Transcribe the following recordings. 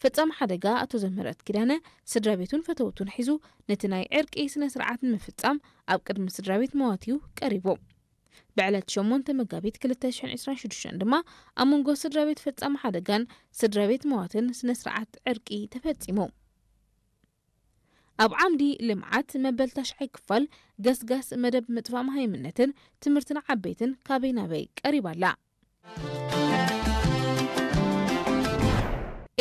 ፈጻሚ ሓደጋ ኣቶ ዘምህረት ኪዳነ ስድራ ቤቱን ፈተውቱን ሒዙ ነቲ ናይ ዕርቂ ስነ ስርዓት ንምፍጻም ኣብ ቅድሚ ስድራ ቤት መዋቲው ቀሪቡ። ብዕለት ሸሞንተ መጋቢት ክልተ ሽሕን ዕስራን ሽዱሽተን ድማ ኣብ መንጎ ስድራ ቤት ፈጻሚ ሓደጋን ስድራ ቤት መዋትን ስነ ስርዓት ዕርቂ ተፈጺሙ። ኣብ ዓምዲ ልምዓት መበል ታሽዓይ ክፋል ገስጋስ መደብ ምጥፋእ መሃይምነትን ትምህርትን ዓበይትን ካበይ ናበይ ቀሪባ ኣላ።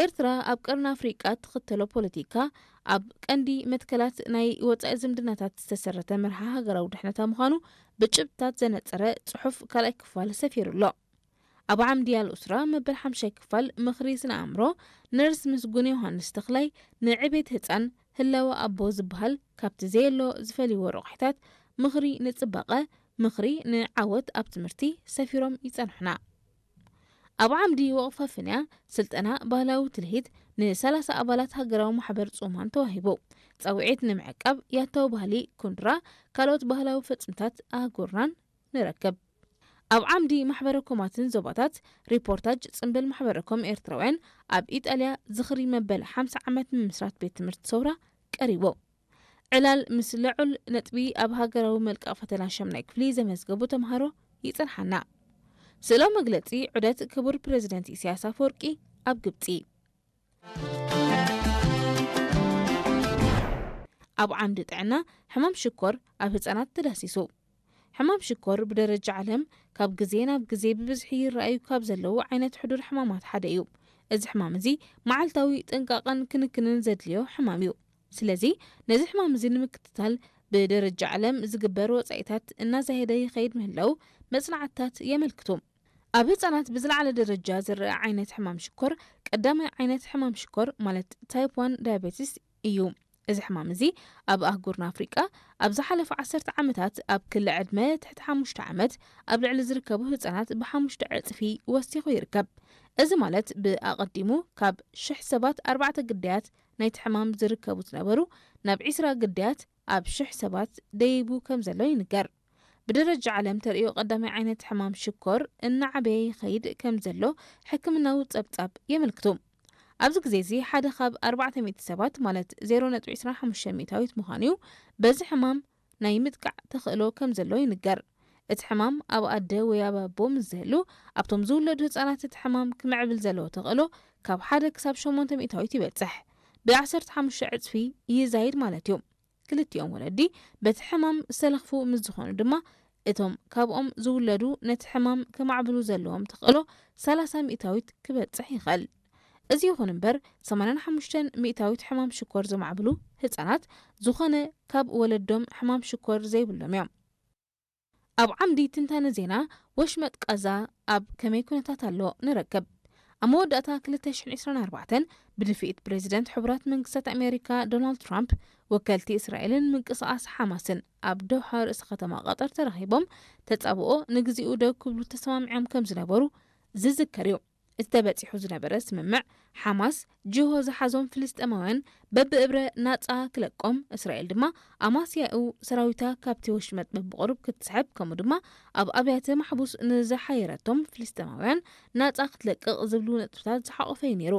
ኤርትራ ኣብ ቀርኒ ኣፍሪቃ ትኽተሎ ፖለቲካ ኣብ ቀንዲ መትከላት ናይ ወጻኢ ዝምድናታት ዝተሰረተ መርሃ ሃገራዊ ድሕነታ ምዃኑ ብጭብጥታት ዘነጸረ ጽሑፍ ካልኣይ ክፋል ሰፊሩ ኣሎ። ኣብ ዓምዲ ኣልኡስራ መበል ሓምሻይ ክፋል ምኽሪ ስነ ኣእምሮ ነርስ ምስጉን ዮሃንስ ተኽላይ ንዕቤት ህጻን ህላወ ኣቦ ዝበሃል ካብቲ ዘየሎ ዝፈልይዎ ረቑሒታት ምኽሪ ንጽባቐ፣ ምኽሪ ንዓወት ኣብ ትምህርቲ ሰፊሮም ይጸንሑና። ኣብ ዓምዲ ወቕፋ ፍንያ ስልጠና ባህላዊ ትልሂት ንሰላሳ ኣባላት ሃገራዊ ማሕበር ጽማን ተዋሂቡ። ጸውዒት ንምዕቃብ ያታዊ ባህሊ ኩንድራ ካልኦት ባህላዊ ፈጽምታት ኣህጉርናን ንረክብ። ኣብ ዓምዲ ማሕበረ ኮማትን ዞባታት ሪፖርታጅ ጽምብል ማሕበረ ኮም ኤርትራውያን ኣብ ኢጣልያ ዝኽሪ መበል ሓምሳ ዓመት ምምስራት ቤት ትምህርቲ ሰውራ ቀሪቡ። ዕላል ምስ ልዑል ነጥቢ ኣብ ሃገራዊ መልቀቕ ፈተና ሸምናይ ክፍሊ ዘመዝገቡ ተምሃሮ ይጸንሓና። ስእላዊ መግለጺ ዑደት ክቡር ፕረዚደንት ኢሳያስ ኣፈወርቂ ኣብ ግብጺ። ኣብ ዓምዲ ጥዕና ሕማም ሽኮር ኣብ ህጻናት ተዳሲሱ። ሕማም ሽኮር ብደረጃ ዓለም ካብ ግዜ ናብ ግዜ ብብዝሒ ይረኣዩ ካብ ዘለዉ ዓይነት ሕዱር ሕማማት ሓደ እዩ። እዚ ሕማም እዚ መዓልታዊ ጥንቃቐን ክንክንን ዘድልዮ ሕማም እዩ። ስለዚ ነዚ ሕማም እዚ ንምክትታል ብደረጃ ዓለም ዝግበር ወጻኢታት እናዛየደ ይኸይድ ምህላው መጽናዕትታት የመልክቱ። ኣብ ህጻናት ብዝለዓለ ደረጃ ዝረኣ ዓይነት ሕማም ሽኮር ቀዳማይ ዓይነት ሕማም ሽኮር ማለት ታይፕ ዋን ዳያቤቲስ እዩ። እዚ ሕማም እዚ ኣብ ኣህጉርና ኣፍሪቃ ኣብ ዝሓለፈ ዓሰርተ ዓመታት ኣብ ክሊ ዕድመ ትሕቲ ሓሙሽተ ዓመት ኣብ ልዕሊ ዝርከቡ ህጻናት ብሓሙሽተ ዕጽፊ ወሲኹ ይርከብ። እዚ ማለት ብኣቐዲሙ ካብ ሽሕ ሰባት ኣርባዕተ ግዳያት ናይቲ ሕማም ዝርከቡ ዝነበሩ ናብ ዒስራ ግዳያት ኣብ ሽሕ ሰባት ደይቡ ከም ዘሎ ይንገር። ብደረጃ ዓለም ተርእዮ ቀዳማይ ዓይነት ሕማም ሽኮር እናዓበየ ይኸይድ ከም ዘሎ ሕክምናዊ ጸብጻብ የመልክቱ። ኣብዚ ግዜ እዚ ሓደ ካብ ኣርባዕተ ሚእቲ ሰባት ማለት ዜሮ ነጥቢ ዕስራን ሓሙሽተን ሚእታዊት ምዃኑ እዩ። በዚ ሕማም ናይ ምጥቃዕ ተኽእሎ ከም ዘሎ ይንገር። እቲ ሕማም ኣብ ኣደ ወይ ኣብ ኣቦ ምስ ዝህሉ ኣብቶም ዝውለዱ ህጻናት እቲ ሕማም ክምዕብል ዘለዎ ተኽእሎ ካብ ሓደ ክሳብ ሸሞንተ ሚእታዊት ይበጽሕ። ብ ዓሰርተ ሓሙሽተ ዕጽፊ ይዛይድ ማለት እዩ። ክልቲኦም ወለዲ በቲ ሕማም ዝተለኽፉ ምስ ዝኾኑ ድማ እቶም ካብኦም ዝውለዱ ነቲ ሕማም ከማዕብሉ ዘለዎም ተኽእሎ ሰላሳ ሚእታዊት ክበጽሕ ይኽእል። እዚ ይኹን እምበር ሰማንያን ሓሙሽተን ሚእታዊት ሕማም ሽኮር ዘማዕብሉ ህጻናት ዝኾነ ካብ ወለዶም ሕማም ሽኮር ዘይብሎም እዮም። ኣብ ዓምዲ ትንታነ ዜና ወሽመጥ ቃዛ ኣብ ከመይ ኩነታት ኣሎ ንረክብ። ኣብ መወዳእታ ክልተ ሽሕን ዕስራን ኣርባዕተን ብድፍኢት ፕሬዚደንት ሕቡራት መንግስታት ኣሜሪካ ዶናልድ ትራምፕ ወከልቲ እስራኤልን ምንቅስቓስ ሓማስን ኣብ ዶሃ ርእሰ ከተማ ቀጠር ተራኺቦም ተጻብኦ ንግዚኡ ደው ክብሉ ተሰማሚዖም ከም ዝነበሩ ዝዝከር እዩ። እቲ ተበጺሑ ዝነበረ ስምምዕ ሓማስ ጅሆ ዝሓዞም ፍልስጤማውያን በብእብረ ናጻ ክለቆም፣ እስራኤል ድማ ኣማስያኡ ሰራዊታ ካብቲ ወሽመጥ በብቑሩብ ክትስሕብ፣ ከምኡ ድማ ኣብ ኣብያተ ማሕቡስ ንዝሓየረቶም ፍልስጤማውያን ናጻ ክትለቅቕ ዝብሉ ነጥብታት ዝሓቖፈ እዩ ነይሩ።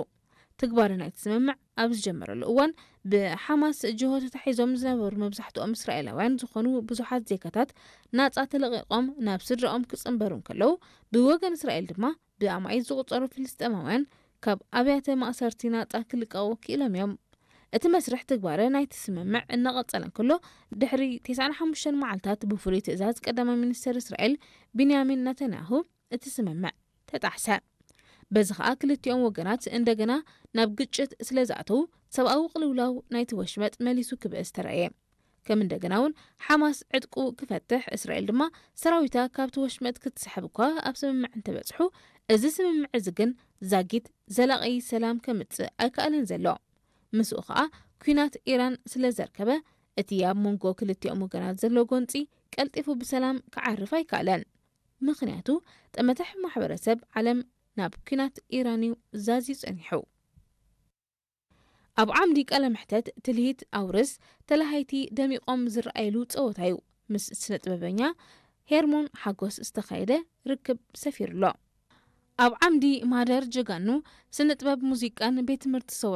ትግባረ ናይቲ ስምምዕ ኣብ ዝጀመረሉ እዋን ብሓማስ ጅሆ ተታሒዞም ዝነበሩ መብዛሕትኦም እስራኤላውያን ዝኾኑ ብዙሓት ዜጋታት ናጻ ተለቒቖም ናብ ስድራኦም ክጽንበሩ እንከለዉ፣ ብወገን እስራኤል ድማ ብኣማኢት ዝቑጸሩ ፍልስጤማውያን ካብ ኣብያተ ማእሰርቲ ናጻ ክልቀቑ ክኢሎም እዮም። እቲ መስርሕ ትግባረ ናይቲ ስምምዕ እናቐጸለ እንከሎ፣ ድሕሪ ተስዓን ሓሙሽተን መዓልታት ብፍሉይ ትእዛዝ ቀዳማይ ሚኒስተር እስራኤል ቢንያሚን ነታንያሁ እቲ ስምምዕ ተጣሕሰ። በዚ ኸኣ ክልቲኦም ወገናት እንደገና ናብ ግጭት ስለ ዝኣተዉ፣ ሰብኣዊ ቅልውላው ናይቲ ወሽመጥ መሊሱ ክብእስ ተራእየ። ከም እንደገና እውን ሓማስ ዕጥቁ ክፈትሕ፣ እስራኤል ድማ ሰራዊታ ካብቲ ወሽመጥ ክትስሕብ እኳ ኣብ ስምምዕ እንተበጽሑ፣ እዚ ስምምዕ እዚ ግን ዛጊት ዘላቒ ሰላም ከምጽእ ኣይከኣለን ዘሎ። ምስኡ ኸኣ ኲናት ኢራን ስለ ዘርከበ፣ እቲ ኣብ መንጎ ክልቲኦም ወገናት ዘሎ ጎንጺ ቀልጢፉ ብሰላም ክዓርፍ ኣይከኣለን። ምኽንያቱ፣ ጠመተ ማሕበረሰብ ዓለም ናብ ኲናት ኢራን እዩ ዛዝዩ ጸኒሑ። ኣብ ዓምዲ ቃለ መሕተት ትልሂት ኣውርስ ተላሃይቲ ደሚቖም ዝረኣየሉ ጸወታ እዩ። ምስ ስነ ጥበበኛ ሄርሞን ሓጎስ ዝተኻየደ ርክብ ሰፊሩ ኣሎ። ኣብ ዓምዲ ማህደር ጀጋኑ ስነ ጥበብ ሙዚቃን ቤት ትምህርቲ ሰውራ